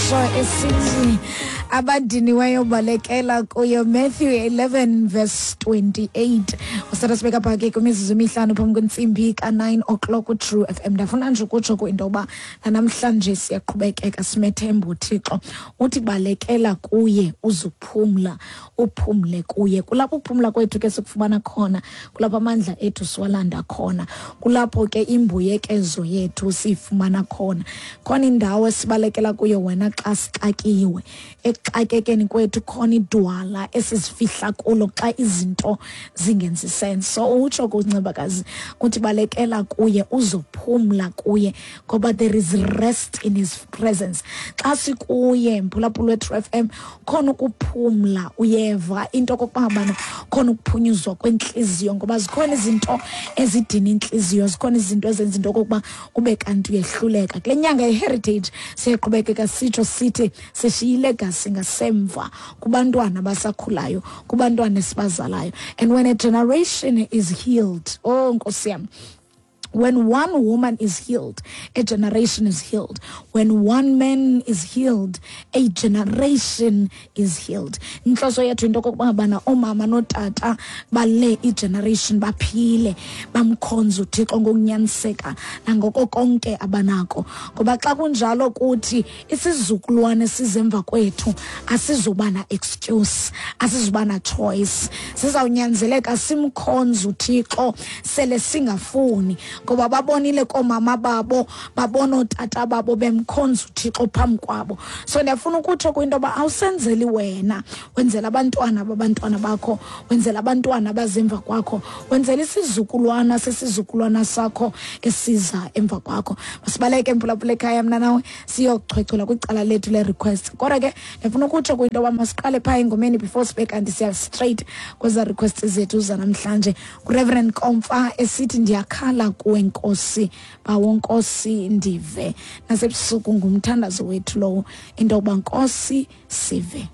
Utsho esithi abadiniweyo balekela kuyo. Matthew 11 verse 28. Usatha sibeka pha ke kwimizuzu emihlanu phambi kwentsimbi ka-9 o'clock uTrue FM. Ndafuna nje ukutsho kwinto yoba nanamhlanje siyaqhubekeka simethemba uThixo. Uthi balekela kuye uzuphumla, uphumle kuye. Kulapho ukuphumla kwethu ke sikufumana khona, kulapho amandla ethu siwalanda khona, kulapho ke imbuyekezo yethu siyifumana khona. Khona indawo esibalekela kuyo wena xa sixakiwe. Ekuxakekeni kwethu khona idwala esizifihla kulo xa izinto zingenzi sense. So utsho kuNcebakazi uthi balekela kuye uzophumla kuye ngoba there is rest in his presence. Xa sikuye mphulaphula weTrue FM khona ukuphumla, uyeva into okokuba ngabana khona ukuphunyuzwa kwentliziyo ngoba zikhona izinto ezidina intliziyo, zikhona izinto ezenza into okokuba ube kanti uyehluleka. Kule nyanga ye-heritage siyaqhubekeka sitsho sithi sishiya ilegasi ngasemva kubantwana abasakhulayo, kubantwana esibazalayo. And when a generation is healed, oh Nkosi yam, when one woman is healed, a generation is healed. When one man is healed, a generation is healed. Inhloso yethu into okokuba ngabana oomama nootata bale igeneration baphile, bamkhonze uThixo ngokunyaniseka nangoko konke abanako. Ngoba xa kunjalo kuthi isizukulwane sizemva kwethu asizuba na excuse, asizuba na choice. Sizawunyanzeleka simkhonze uThixo sele singafuni, ngoba babonile koomama babo, babona ootata babo bemkhonza uThixo phambi kwabo. So ndiyafuna ukutsho kwinto yoba awusenzeli wena, wenzela abantwana babantwana bakho, wenzela abantwana abazemva kwakho, wenzela isizukulwana sesizukulwana sakho esiza emva kwakho. Masibaleke mphulaphula ekhaya mna nawe siyochwechwela kwicala lethu le-request. Kodwa ke ndifuna ukutsho kwinto yoba masiqale phaa engomeni before sibe kanti siya straight kweza request zethu zanamhlanje. NguReverend Komfa esithi ndiyakhala kuwe Nkosi, bawo Nkosi ndive. Nasebusuku ngumthandazo wethu lowo, into yokuba Nkosi sive.